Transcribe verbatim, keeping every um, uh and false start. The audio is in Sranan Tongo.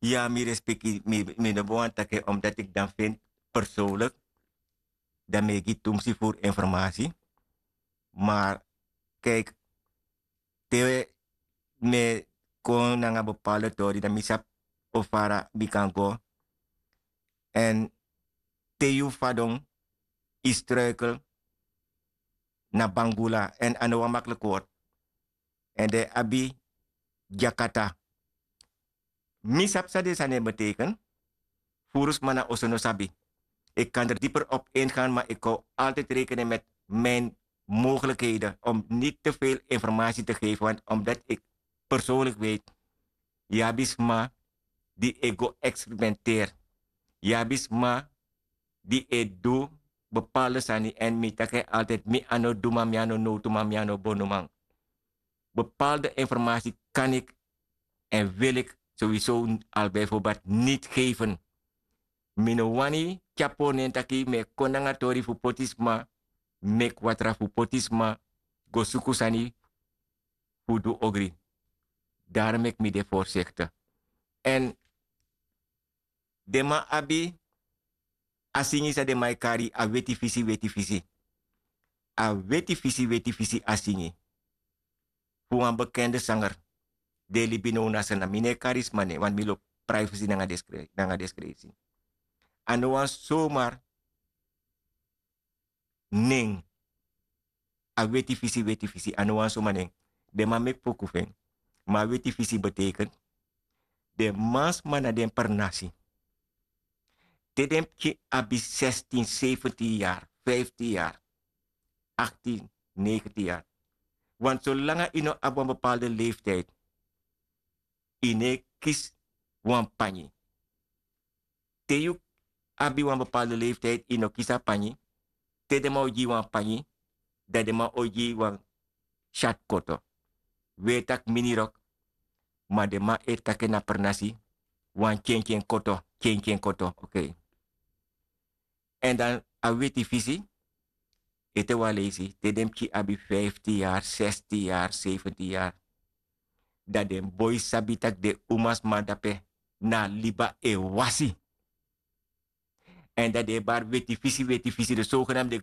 Ya mi respeki mi no ben wani taki en omdati iki dan findi persoonlik, dan mi e gi tumsi furu informasi. Maar kijk, te mi e kon nanga bepaalde tori dan mi sabi o fara mi kan go. Èn te yu fadon yu struikel na bangula èn a no wan makliki word. Èn den e abi dyakata. Mi sabi san den sani e beteken. Furu sma na oso no sabi. Ik kan der dieper op ingaan maar ik hou altijd rekenen met mijn mogelijkheden om niet te veel informatie te geven want omdat ik persoonlijk weet, yu abi sma di e go experimenteer. Yu abi sma di e du bepaalde sani èn mi taki en altijd mi a no duman mi a no nowtuman mi a no bonuman. Bepaalde informasi kan iki èn wil iki sowieso al bijvoorbeeld niti geven. Mi no wani tyari pori nen taki mi e kon nanga tori fu poti sma, meki watra fu poti sma go suku sani fu du ogri. Dari meki mi de forsikti. Èn den man abi a singi san den man e kari a weti fisi weti fisi. A weti fisi weti fisi a singi fu wan bekende sanger. Den e libi now na srna mi no e kari sma nen wantu mi lobi privacy nanga deskresi. A no wan somar nen. A weti fisi weti fisi a no wan soma nen. Den man meki poku fu en. Ma a weti fisi beteken den mansma na den pernasi. Te den pikin abi sestin sefentin yari, fiftin yari, aktin, negentin yari. Want solanga yu no abi wan bepaalde leeftijd yu no e kisi wan panyi. Te yu abi wan bepaalde leeftijd yu no kisi a panyi. Te den man o gi yu wan panyi dan den man o gi yu wan syat koto. Weri tak' minirok. Ma den man e taki en na pernasi wan kyenkyen koto. Kyenkyen koto. Èn dan a weti fisi ete wan leisi te den pikin abi fiftin yari sestin yari sefentin yari. Dan den boi sabi tak' den umasma dape na liba e wasi. Èn dan den e bari weti fisi weti fisi den sogenam den